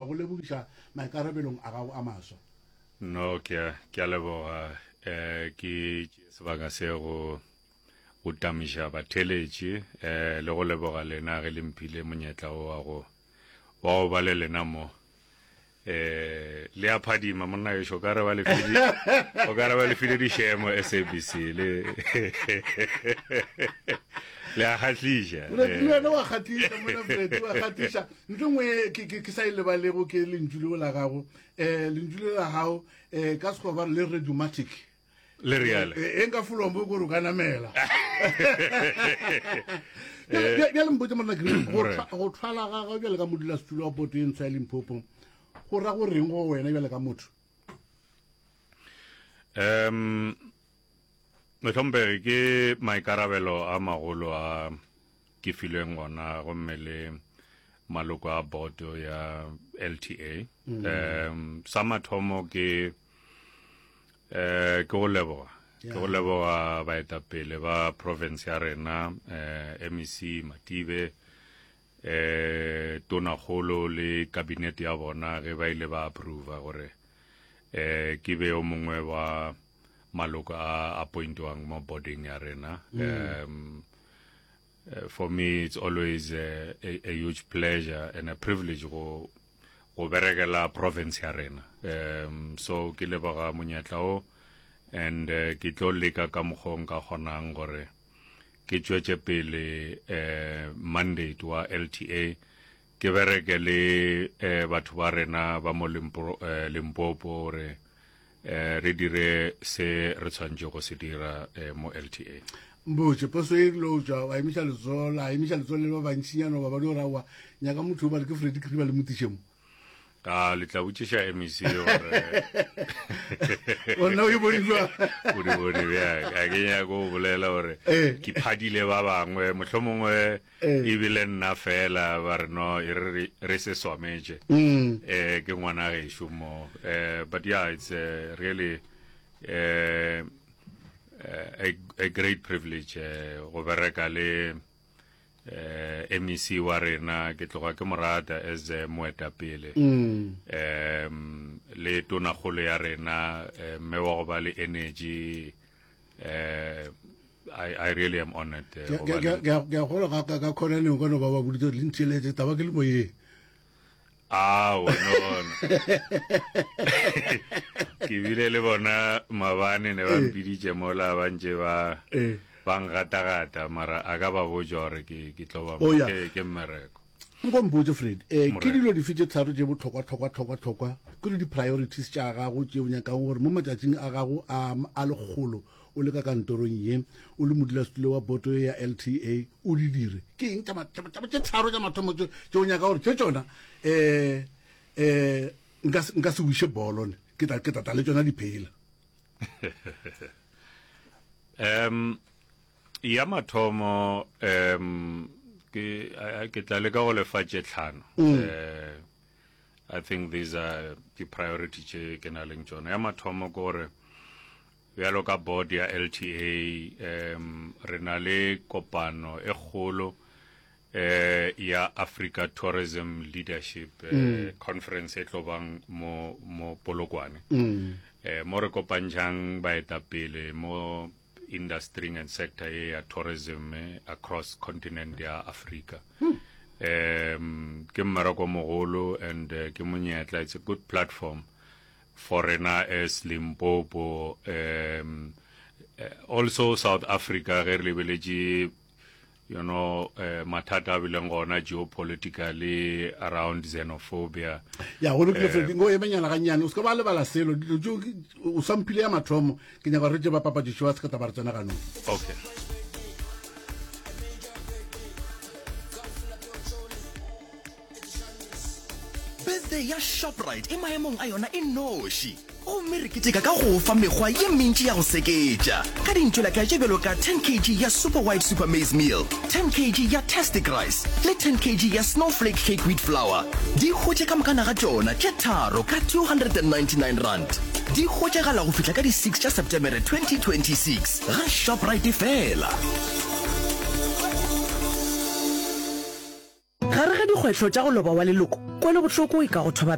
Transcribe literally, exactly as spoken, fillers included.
go lebogiša maikarabelong a gago a maswa. No, ke a, ke a leboga. Eh, ke tšee sebaka se go go tamiša batheeletši eh, le go leboga lena ge le mphile monyetla wo wa go wa go ba le lena mo. Eh, le a phadima monna gešo, o ka re ba le file o ka re ba le file dišemo S A B C le le a kgahliša. Le wena wa kgahliša monna Fred, wa kgahliša. Ntho e nngwe ke ke ke sa e lebalego ke lentšu leo la gago, um lentšu le la gago um ka Sekgowa ba re le radiomatic. Le reale. E nka folombo kore o ka namela. Bjale mpotse monna Green, go go thwala ga gago bjale ka modulasetulo wa boto e ntsho ya Limpopo go ra go reng go wena bjale ka motho? Um mohlomphegi, ke maikarabelo a magolo a ke filweng gona gomme le maloko a boto ya L T A. um sa mathomo ke eh ke go leboga ke go leboga baetapele ba province ya rena, eh M E C Matibe, eh tonakgolo le cabinet ya bona ge ba ile ba approva gore eh ke be o mongwe wa maloko a appointwang mo boarding ya rena. um uh, for me it's always a, a, a huge pleasure and a privilege go go berekela province ya rena. um so ke leboga monyetla o and uh, ke tlo leka ka mokgwa o nka kgonang gore ke tšwetše pele eh mandate wa L T A, ke bereke le eh batho ba rena ba mo Limpo, eh, Limpopo gore eh re dire se re tshwanetse go se dira eh, mo L T A. Mbotse poso e rile o tswa wa emiša letsogo, la emiša letsogo le ba bantšinyana ba ba di ora wa nyaka motho o ba re ke Freddy Kriba le motiše mo. A le tla botšiša M E C gore Gona o e bone jwang? O di bone bjang. A ke nyako go bolela gore Eh. ke phadile ba bangwe, mohlomongwe Eh. ebile nna fela ba re no e re re- re se swametše Mm. eh ke ngwana gešo mo. eh but yeah, it's uh, really uh, a, a great privilege eh, go bereka le eh M E C wa rena. Ke tloga ke morata as eh, moetapele, Mm. um le tonakgolo ya rena, eh, mme wa go ba le energy. eh I, I really am honored eh, Ke go ke- ba le- ke ke a gola ka ka ka khonaneng ka no ba ba boditse gore le ntheeletse taba ke le moyeng. Ao, no no ke bile le bona mabane ne ba mpiditše mola ba ntše ba Eh. ba ngatagata, mara a ka ba botša gore ke ke tlo ba Oh, yeah. ke ke mmereko. Nko mpotse Fred, um ke Morena. dilo dife tše tharo tše bohlokwa tlhokwa tlhokwa tlhokwa ke le di-priorities tša gago tše o nyakang gore mo matšatšing a gago a a lekgolo o le ka kantorong ye o le modulasetulo wa boto ya L T A o di dire? Ke eng tša ma- tša- tša- tše tharo tša mathomo tše tše o nyaka gore tše tšona um um nka se- nka se wiše bolo ne ke tla ke tla tla le tšona diphela? um ya mathomo, um ke a- a- ke tla leka go lefa tše tlhano. eh I think these are the priority tše ke na leng tšona. Ya mathomo ke gore bjalo ka board ya L T A, um re na le kopano e kgolo eh ya Africa Tourism Leadership eh, Conference e tlo bang mo mo Polokwane, eh mo re kopantšhang baetapele mo industry and sector e ya tourism eh, across continent ya Africa. um ke mmereko mogolo and uh, ke monyetla, it's a good platform for rena as Limpopo, um eh, also South Africa, ge re lebeletše you know uh, mathata a bileng gona geopolitically around xenophobia. Ya go lokile Fred, ngo emenyana gannyane, o se ka ba lebala selo. Dilo tšeo ke- o samphile ya mathomo, ke nyaka gore re tše ba papadišo ba se ka taba re tsena ganong. Okay. Birthday ya Shoprite e maemong a yona e noši, gomme re keteka ka go fa mekgwa ye mentši ya go seketša ka dintšwelaka tše bjalo ka ten kg ya Super White Super Maize Meal, ten kg ya Tastic Rice le ten kg ya Snowflake Cake Wheat Flour. Di hwetše ka mokana ga tšona tše tharo ka two hundred and ninety-nine rand. Di hwetšagala go fihla ka di six tša Septemere twenty twenty-six ga Shoprite fela. Gare ga dikgwetlho tša go loba wa leloko, kwelobohloko e ka go thoba.